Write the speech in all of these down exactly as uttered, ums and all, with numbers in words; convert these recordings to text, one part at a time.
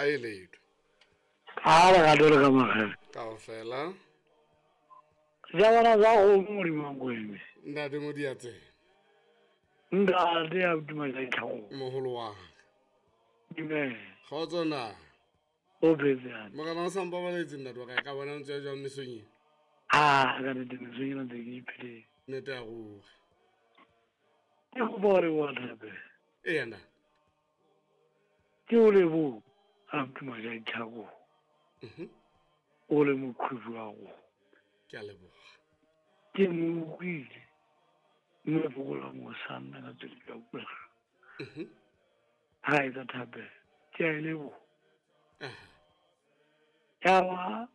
Ha e letho. A le gato le ka magele. Kaofela. Ja bona za go Modimo wa Nkweme. Ntate Modiatsebe. Ntate ya tuma ja tlhago. Moholo wa ka. Dumela. Kgotso na. O phetse hantle. Morena o sa mpabaletse ntate wa ka, e ka bona ntse ya jwang mesong e? Ah, ka nnete mesong ena ntse ke ipheletse. Nnete ya ruri. Ke kopa hore wa thapela. Eya ntate. Ke o leboha a tuma ja tlhago. Mhm. O le moqhubu wa go. Ke a leboha. Ke mo utlwile. Mme fokola mo sanna ka tsela ya pula. Mhm. Ha etsa thapelo. Ke a e leboha. Aha. Ya ba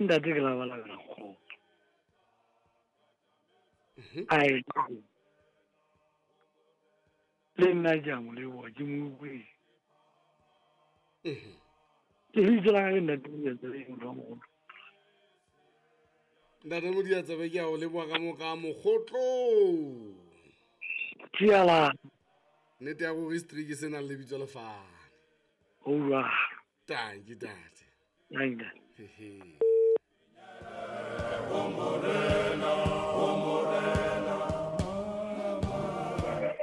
ntate ke labalabela kgotso. Mhm. A e le nna ke a mo leboha, ke mo utlwile. Mhm. Lebitso la ka ke ntate Modiatsebe, motho wa moholo. Ntate Modiatsebe, ke a o leboha ka mo ka mokgotlong. Tshiala. Nnete ya ruri streak se nang le lebitso le fane. Ho jwalo. Tanki ntate. Tanki. Hehe.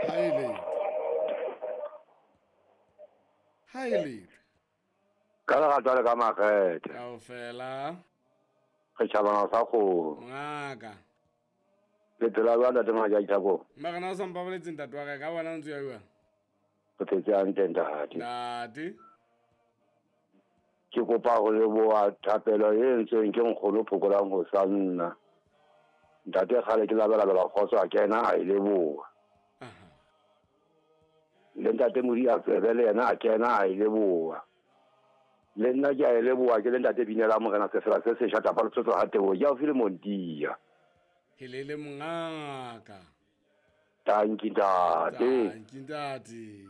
Ha e letho. Ha e letho. Ka lerato le ka makgethe. Kaofela. Re tjhabana sa kgomo. Ngaka. Le phela jwang ntate Maja Ithako? Mara na o sa mpabaletse ntate wa ka, ka bona o ntse o ya jwang? Re phetse hantle ntate. Ntate. Ke kopa ho leboha thapelo e entsweng ke nkgono Phokolang ho sa nna. Ntate kgale ke labalabela kgotso a kena a e leboha. Aha. Le ntate Modiatsebe le yena a kena a e leboha. Le nna ke a e leboha ke le ntate Binela Morena Sefela se sesha tapa letsotso ha teboho ke haufi le Montia. Helele mongaka. Tanki ntate. Tanki ntate.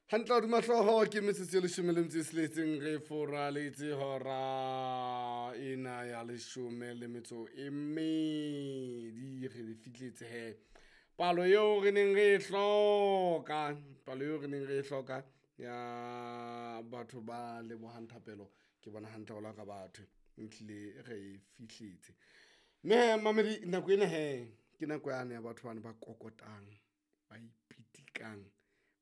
Hantle hodima hlooho ke metsotso e leshome le metso e tsheletseng re foraletse hora ena ya leshome le metso e mmedi re le fihletse he. Palo eo re neng re e hloka, palo eo re neng re e hloka ya batho ba lebohang thapelo ke bona hantle ho la ka batho ntlile re e fihletse. Mme mamedi nako ena he ke nako yane ya batho bana ba kokotang, ba ipitikang,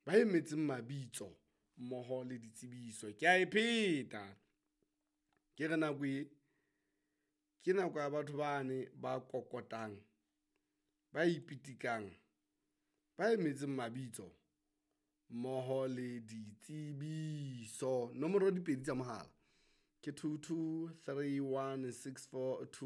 ba emetseng mabitso mmoho le ditsebiso. Ke a e pheta. Ke re nako e ke nako ya batho bane ba kokotang, ba ipitikang, ba emetseng mabitso mmoho le ditsebiso. Nomoro di pedi tsa mohala ke two two three one six four two.